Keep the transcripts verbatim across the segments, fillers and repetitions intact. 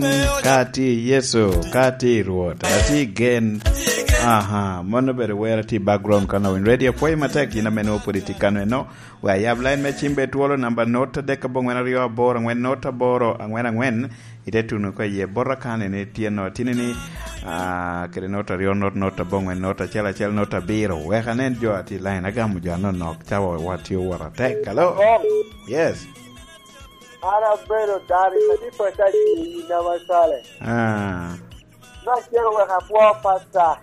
Ka atye i Yecu, ka atye i Rwot, atye i gen. Aha, mano bene wer atye i background kan Win Radio. Pwoyo matek, yin ame nwoŋo pwod itye kano eno. We ayab line me cim be twolo, namba not adek abongwen aryo aboro angwen not aboro angwen angwen. Ite tuno ko iye bota kan ene tye no, tini ni, ah, kede not aryo not not abongwen not acel acel not abiro. Wek anen jo atye i line, agamo jo anonok, cawa watye owot atek. Hello? Yes. An abedo dano i kadi pata i nama sale. Ah. Me acel wek apwo pasta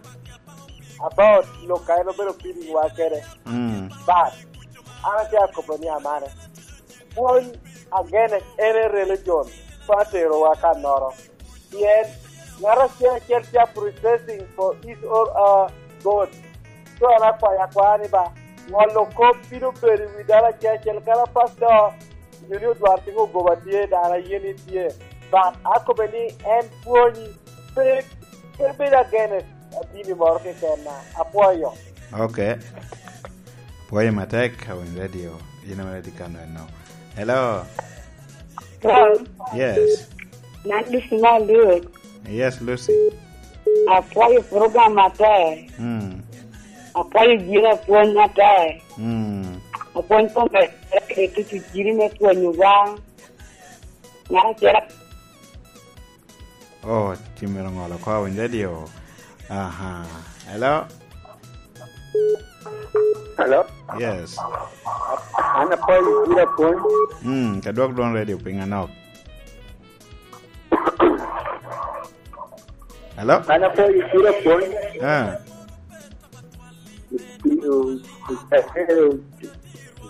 about lok a en obedo feeding wa kede. Mm. But, an atye akobo ni amane. Pwony against any religion pe atero wa ka noro. Pien, ngat acel acel tye processing for his or her God. So, an akwayo akwaya ni ba, ngolo kop bino bedo i wi dano acel acel, kara pastor, nyo ni odwar tiko goba tye, dano aye ni tye. But akobe ni en pwonyi, pe, pe bedo against dini moro keken na. Apwoyo. Okay. Pwoyo matek, Awiny Radio. Yin ame tye kano eno. Hello. Hello. Yes. Nan Lucy Maluk. Yes, Lucy. Apwoyo program atek. Mm. Apwoyo jiro apwony atek. Mm. Apwony kome kede tutu jiri me pwonyo wa. Ngat acel. Oh, ci myero ŋolo oko, Awiny Radio. Aha. Hello? Hello? Yes. An apwoyo jiro apwony. Mm, ka dwok dwon radio piny anok. Hello? An apwoyo jiro apwony. Ah.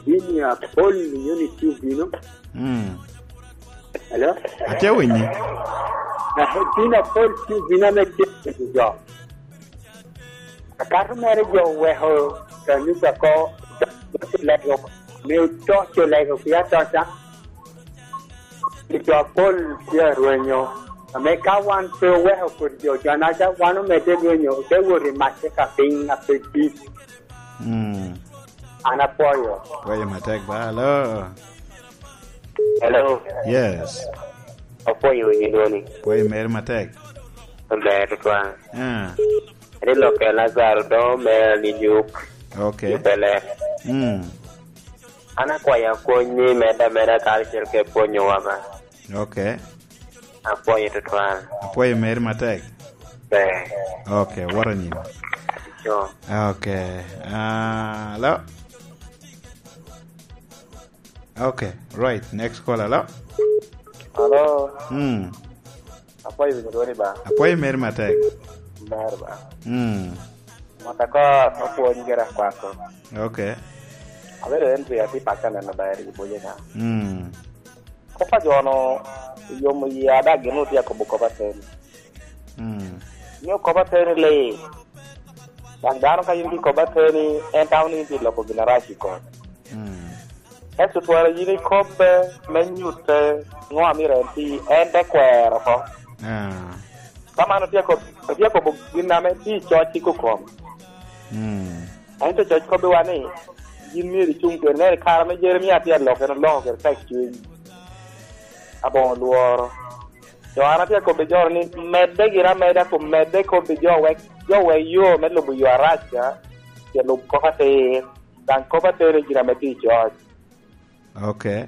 Bini apol, nyo ni tye obino. Mm. Hello? Atye winyi. Na, bini apol tye obino ame tye jo. Akato mere jo oweko kanisa ko, jo oto lego, me oto co lego ki atoca. Jo apol tye arwenyo, ame ka wan pe oweko kodi jo, jo anaca wan omedde rwenyo, ote wot i macce ka piny a pe dit. Mm. An apwoyo. Pwoyo matek ba, hello. Hello. Yes. Apwoyo winyo dwoni. Pwoyo meri matek. Ber tutwal. Ah. Ri lokke Lazaro do me ni nyuk. Okay. Nyuk ele. Mm. An akwayo apwony ni medde ameda karacel ke pwonyo wama. Okay. Apwoyo tutwal. Apwoyo meri matek. Ber. Okay, woro nyim. Sure. Okay. Ah, hello. Okay, right. Next call, hello. Hello. Hmm. Apwoyo winyo dwoni ba. Apwoyo meri matek. Ber ba. Hmm. Mata ko apwony gera kwako. Okay. Abedo en tye ati paka neno ber i boye na. Hmm. Kop a jo-nu oyomo yie ada gin otye akobo kop ateni. Mm. Nyo kop ateni lee. Dok dano ka yin tye kop ateni, en tamo ni yin tye loko gin arac i kom. Mm. Ento twara yin ikobbe me nyutte ŋo amiro en ti, en te kwero oko. Ah. Ka man otye akob-, otye akobo gin ame tye i coc i kokom. Mm. Ento coc kobbiwa ni, yin myero icuŋ kede. Nen, i kare ame Jeremia tye alok, en oloko kede tekcuny aboŋo lworo. Jo an atye akobbi jo ni, medde gire ameda, kun medde kobbi jo wek, jo wek yo me lubo yo arac ca, ce lub kop atir, daŋ kop atir i gin ame tye i coc. Okay.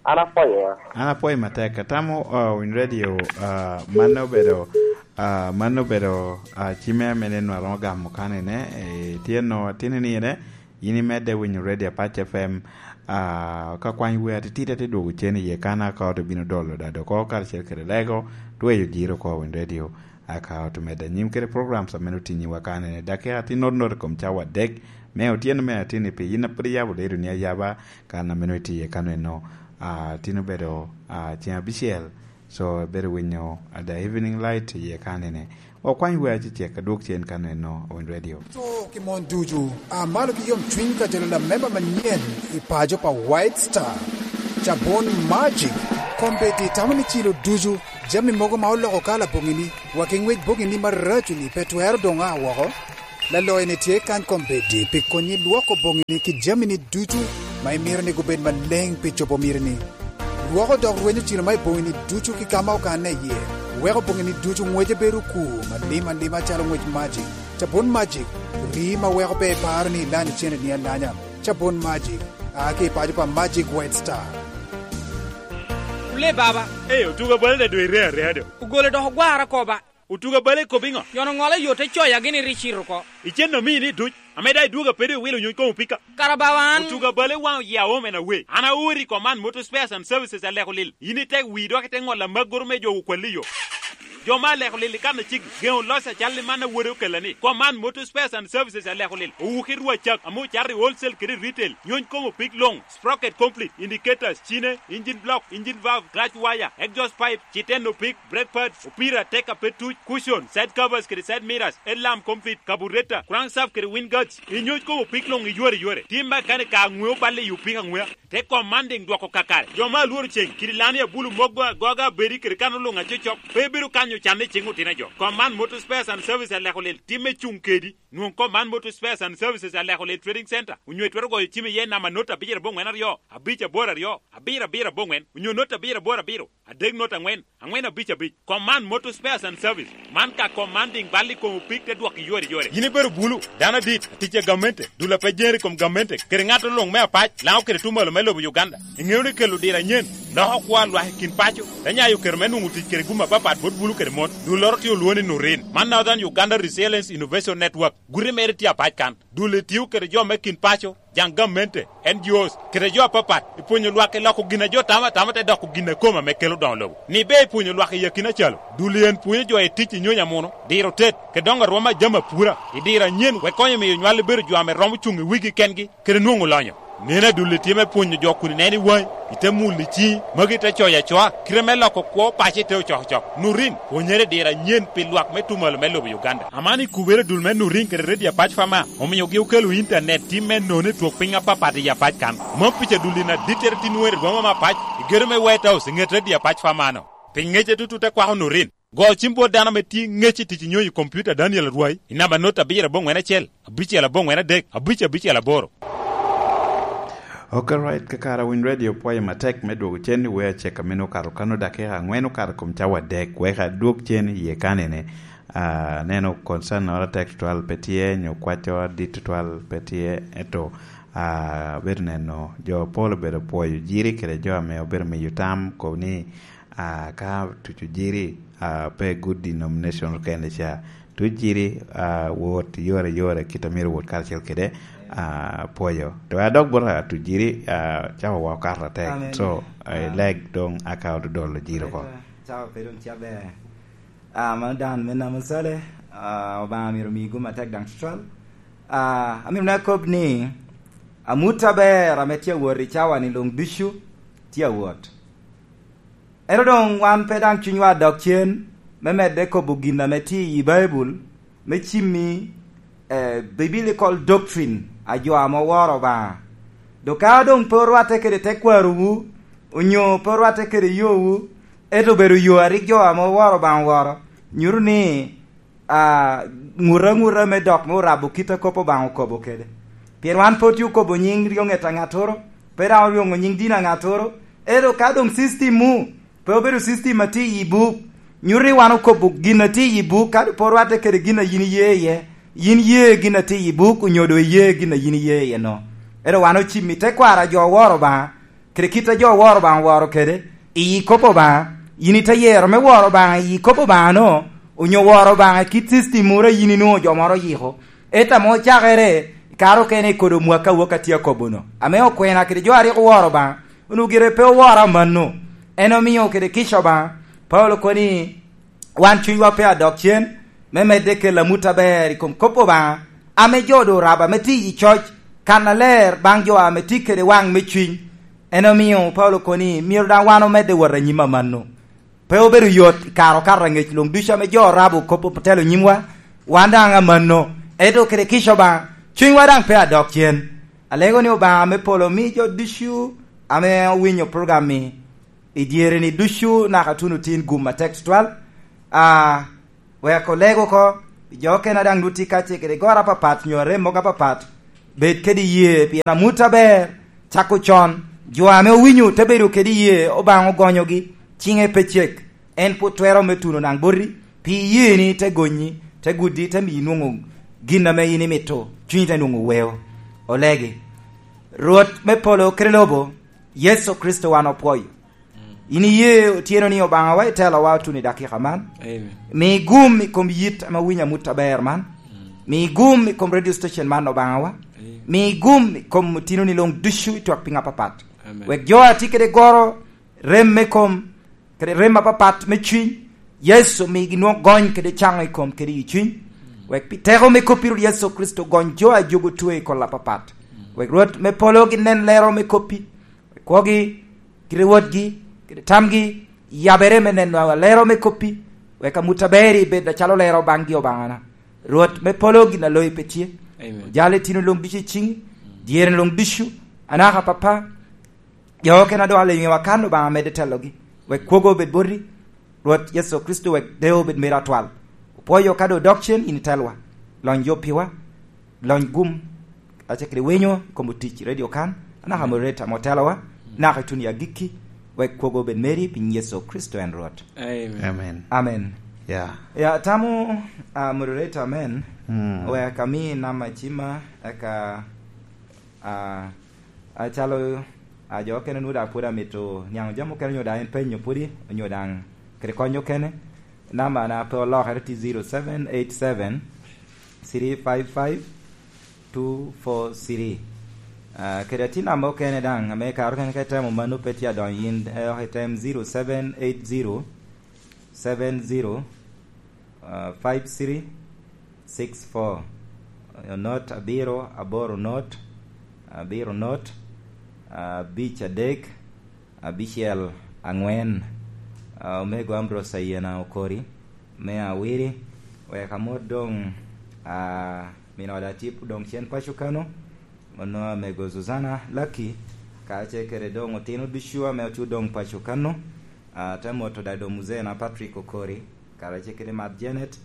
An apwoyo. An apwoyo matek. Atamo, uh, Winy Radio, uh, mano obedo, uh, mano obedo, uh, cime ame neno aromo gamo kanene, eh, tye no, tini ni ene, yin imedde winyo Radio Apac F M, uh, ka kwany wer atitidi atye dwogo cen iye kan aka ot obino dolo dado oko karacel kede lego, tweyo jiro oko Winy Radio, aka ot omedde anyim kede programs ame otinyiwa kanene. Dakika tye not not i kom cawa adek, me otyeno me atini pi yin a pwod iyabo ledo ni ayaba, kan a meno itye iye kano eno, ah, tin obedo, ah, ceng abicel, so, ibedo winyo, ah, The Evening Light iye kanene. Okwany wer acecek, adwog cen kano eno, Winy Radio. To ki mon ducu, a malo ki yom cwiny ka jolo lamemba manyen i paco pa White Star. Cabon Magic, kombeddi tamo ni cilo ducu, jami mogo ma oloko kala boŋini, wa ki ŋwec boŋini maraco-ni pe twero doŋ a woko. Laloyo-ni tye kany kombeddi pi konyi lwoko boŋini ki jamini ducu ma imito ni gubed maleŋ pi cobo mitini. Lwoko dok rwenyo cilo ma i boŋini ducu ki ka ma okanne iye. Weko boŋini ducu ŋwece bedo okur, alim alima calo ŋwec Magic. Cabon Magic, rii ma weko pe iparo ni ilanyo cene ni alanya. Cabon Magic, a ki i paco pa Magic White Star. Ule baba. Ee, otuga bale da doŋ ire areya do. Ogole dok ogwara koba. Otuga bale ikobo iŋo? Yon oŋola yo te coya gini ri cito oko. Icen omii ni duc, ame da idwogo apede iwilo nyuc kom opika. Kara bawa an. Otuga bale waŋ oya omen awe. An aori i Command Motor Spares and Services aleko lil. Yin itek wii dok ite ŋola maggoro me jo okwalli yo. Jo ma aleko lil i kan acik, geŋo loc acal i man awode okella ni, Command Motor Spares and Services aleko lil. Owuki rwa cak, ame ocato i wholesale kede retail. Nyuc kom opik luŋ, sprocket complete, indicators, cine, engine block, engine valve, clutch wire, exhaust pipe, citeno pik, brake pads, opira, teka pe tuc, cushion, side covers kede side mirrors, headlamp complete, carburetor, crankshaft kede wind guards, inyuc kom opik luŋ i yore yore. Tim makanika aŋweo balle i opik aŋwea. Te Commanding dwoko kakare. Jo ma alworo ceŋ, kidi lani abulu mogo agoga abedi kede kano luŋ acocok, pe bedo kanyo can i ciŋ otino jo. Command Motor Spares and Service aleko lel timme cuŋ kedi. Nwoŋ Command Motor Spares and Services aleko lel Trading Center, onyo itwero goyo cim iye namba not abicel aboŋwen aryo, abic aboro aryo, abiro abiro aboŋwen, onyo not abiro aboro abiro, adek not aŋwen, aŋwen abic abic. Command Motor Spares and Service, man ka Commanding bal i kom opik te dwok i yore yore. Yin ibedo bulu, dano adit, atic a gamente, dul a pe jere i kom gamente, kede ŋat luŋ me apac, Laŋo kede tumalo me lobo Uganda. Iŋeo ni kelo diro anyen loko kwo a lwak i kin paco, te nyayo kero me nwoŋo tic kede gum apapat bot bulu kede mon. Dulloro tye olwoŋo ni Nurin, man Northern Uganda Resilience Innovation Network. Guti mere tye apac kan. Dul etio kede jo me kin paco, jaŋ gamente, N G Os, kede jo apapat, i pwonyo lwak i loko gin a jo tamo atama te doko gin a kome ame kelo doŋo lobo. Ni be i pwonyo lwak i akina calo, dul en pwonyo jo i tic i nyony amuno, diro tet, kede doŋo arwom a jami apura, i diro anyen, wek konyo miyo nywal bedo jo ame romo cuŋ i wigi kengi, kede nwoŋo lonyo. Neno adulli tye me pwonyo jo kun ineno i waŋi, ite mulo i ciŋi, magi te coyo acoa, kite me loko kwo paco ite ocokocok. Nurin, pwonyere diro anyen pi lwak me tumalo me lobo Uganda. Aman i kubere dul me Nurin kede Radio Apac Fama, omiogi okelo intanet tim me nono i twok piny apapat i Apac kan. Mom pica dulli na dittere tin weri rwoma me apac, i gedo me White House i ŋet Radio Apac Fama-no. Pi ŋece tutu te kwako Nurin. Go cim bot dano ame tye ŋec i tic i nyonyo i kompiuta Daniel Arwai i namba not abiro aboŋwen acel, abicel aboŋwen adek, abic abicel aboro. Ok, right, kakare Winy Radio pwoyo matek me dwogo cen i wee acek a meno okato kano dakika aŋwen okato kom cawa adek, wek adwog cen i ye kanene. Ah, neno concern noro atek tutwal pe tye, nyo kwacco adit tutwal pe tye, ento, ah, bedo neno jo pol obedo pwoyo jiri kede jo ame obedo miyo tam, kobo ni, ah, ka tuco jiri, ah, pe good denomination kende ca. Tuc jiri, ah, wot yore yore kit a myero wot karacel kede, ah, pwoyo. To a dok bot a tuc jiri, ah, cawa wa okato atek. Amen. So, ah, leg dong aka ododolo jiri oko. Cawa pe dong ca ber. Ah, mano dan me namo sale, ah, Obaŋa myero omi gum atek daŋ tutwal. Ah, amito na kob ni, amut aber ame tye awot i cawa-ni luŋ ducu tye awot. Ento doŋ wan pe daŋ cunywa dok cen me medde kobo gin ame tye i Baibul, me cimmi, eh, biblical doctrine a jo ame oworo Obaŋa. Dok ka doŋ pe orwatte kede tekwarowu, onyo pe orwatte kede yowu, ento obedo yo a rik jo ame oworo Obaŋa oworo, nyuto ni, ah, ŋut aŋuta me dok me orabo kit a kop Obaŋa okobo kede. Pien wan pe otye okobo nyiŋ ryoŋet a ŋattoro, pe daŋ oryoŋo nyiŋ dini a ŋattoro, ento ka doŋ system mu pe obedo system a tye i buk, nyuto ni wan okobo gin a tye i buk, kadi pe orwatte kede gin a yin iye iye, yin ye gin a tye i buk, onyo doŋ iye gin a yin iye iye no. Ento wan ocimmi tekwaro a jo oworo Obaŋa, kede kit a jo oworo Obaŋa oworo kede, i kop Obaŋa, yin ite yero me woro Obaŋa i kop Obaŋa-no, onyo woro Obaŋa i kit system moro a yin inwoŋo jo moro oyiko. Ento ame ocakere, i kare okene i kodo mwaka wok a tye akobo-no, ame okwena kede jo a rik oworo Obaŋa, onwoŋo gire pe oworo amanno. En omio kede kica Obaŋa, Paulo kobo ni, wan cunywa pe adok cen, me medde kelo amut aber i kom kop Obaŋa, ame jo doŋ orabo ame tye i coc, kannaler baŋ jo ame tye kede waŋ me cuny. En omio Paulo kobo ni myero daŋ wan omedde wot anyim amanno. Pe obedo yot i kare okato aŋec luŋ ducu ame jo orabo kop otelo nyimwa, wan daŋ amanno, ento kede kica Obaŋa, cunywa daŋ pe adok cen. Alego ni Obaŋa me polo omi jo ducu ame owinyo program-mi i dyere-ni ducu naka tuno tin gum atek tutwal. Ah, wek oleg oko, jo okene a daŋ nut tye kacel kede goro apapat, nyo arem mogo apapat, bed kede iyee, pien amut aber cako con. Jo ame owinyo te bedo kede iyee, Obaŋa ogonyogi, ciŋe pe cek. en pwod twero me tuno naŋ boti, pi iyeni te gonyi, te gudi, te miyi nwoŋo gin ame in imito, cunyi te nwoŋo weo. Olegi. Rwot me polo kede lobo, Yecu Kricito wan opwoyo. In iye otyeno ni Obaŋawa itelowa otuno i dakika man. Amen. Mi gum i kom yit ame winyo amut aber man. Mi gum i kom radio station man, Obaŋawa. Amen. Mi gum i kom otinoni luŋ ducu i twak piŋ apapat. Amen. Wek jo a tye kede goro, rem me kom, kede rem apapat me cuny, Yecu migi nwoŋo gony kede caŋo i kom kede i cuny. Wek pi teko me koppi Rwot Yecu Kricito gony jo a jogo twe i kol apapat. Wek Rwot me polo ginen lero me koppi. Kwogi, kite wotgi, kite tamgi, yabere me neno alero me koppi, wek amut aber ibed acalo lero baŋgi Obaŋana. Rwot me polo gin a loyi pe tye. Amen. Ojal itino luŋ ducu i ciŋi, dyere luŋ ducu, anaka papa, jo okene a doŋ alonyo wa kan Obaŋa medde telogi, wek kwogo obed boti, Rwot Yecu Kricito wek dewo obed meri atwal. Opwoyo ka doŋ dok cen in itelwa, lony jo piwa, lony gum, ace kede winyo i kom otic i redio kan, anaka moderator ame otelowa, naka i tuni agikki, wek kwogo obed meri pi nyin Yecu Kricito en Rwot. Amen. Amen. Amen. Yeah. Ya, atamo, ah, moderator amen, mm, wek ami namba cima, eka, ah, acalo, ah, jo okene onwoŋo daŋ pwod amito niaŋ jami okene onyo daŋ en penyo pwodi, onyo daŋ kede kony okene. Namba na pe olokere tye zero seven eight seven three five five two four three. Ah, kede atye namba okene daŋ, ame kare okene ka itemo mano pe tye adonyo in, eh, item zero seven eight zero seven zero, ah, five three six four. Eh, not abiro aboro not, abiro not, abic adek, abicel aŋwen. Ah, Omego Ambrose Ayena Okori, me Awiri, wek amot doŋ, ah, min ot Atip doŋ cen paco kano, onwoŋo Amego Zuzana Laki, kacel kede doŋ otino ducu ame ocudo doŋ paco kano, ah, te moto daŋ doŋ Muzee na Patrick Okori, kacel kede Mat Janet,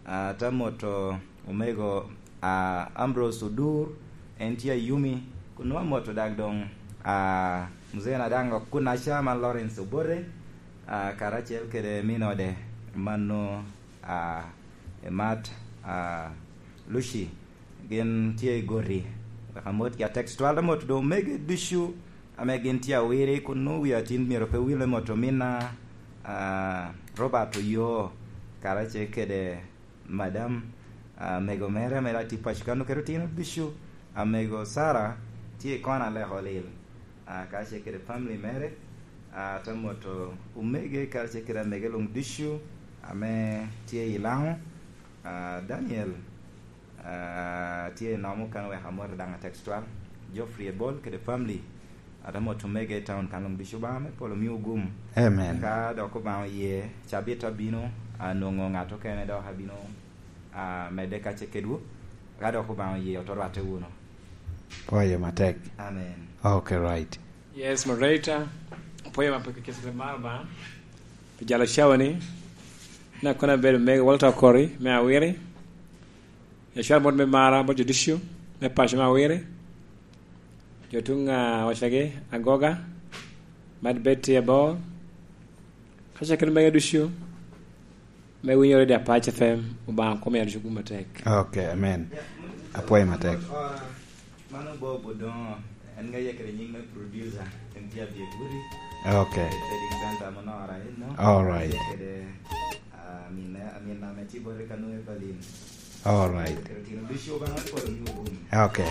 ah, te moto Omego, ah, Ambrose Odur, en tye Ayumi, kun nwoŋo amoto dak doŋ, ah, Muzee na daŋ okunaca man Lawrence Obote, ah, karacel kede min ode mano, ah, Emat, ah, Lucy, gin tye i Goti. Wek amot ya text twal, amot doŋ omege ducu ame gin tye Awiri, kun nwoŋo wi atin myero pe wile moto ominna, ah, Robert Oyoo, karacel kede Madam, ah, amego mere ame daŋ tye paco kano kede otino ducu, amego Sara tye i kona leko lil, ah, kacel kede family mere, ah, te moto omege kacel kede amege luŋ ducu ame tye i Laŋo, ah, Daniel, ah, tye i nomo kano wek amot daŋ a text twal, Geoffrey Ebol kede family, Ate moto omege i taun kan luŋ ducu, Obaŋa me polo miwu gum. Amen. Ka dok Obaŋa oye, cabit abino, anwoŋo ŋat okene dok abino, ah, medde kacce kedwu. Ka dok Obaŋa oye, oto rwatte wunu. Pwoyo matek. Amen. Okay, right. Yes, moderator. Pwoyo matek kece mar Obaŋa. Pi jalo cawa ni, na kono abedo mego Walter Okori, me Awiri. Yacwar bot me mara, bot jo ducu, me paco me Awiri. Jo tuŋ, ah, wacagi, Agoga, Mad Betty Abor, kacel kede mege ducu, me winyo Radio Apac F M, Obaŋa kom yalo cuku matek. Okay, amen. Apwoyo matek. Mano Bob Odongo, en ŋa ye kede nyiŋ me producer, en tye abye guti. Okay. Trading center mo nora eno. All right. Kede, ah, amin, amin ame tye bote kano Evelyn. All right. Kede tino ducu Obaŋa me polo miwu gum. Okay.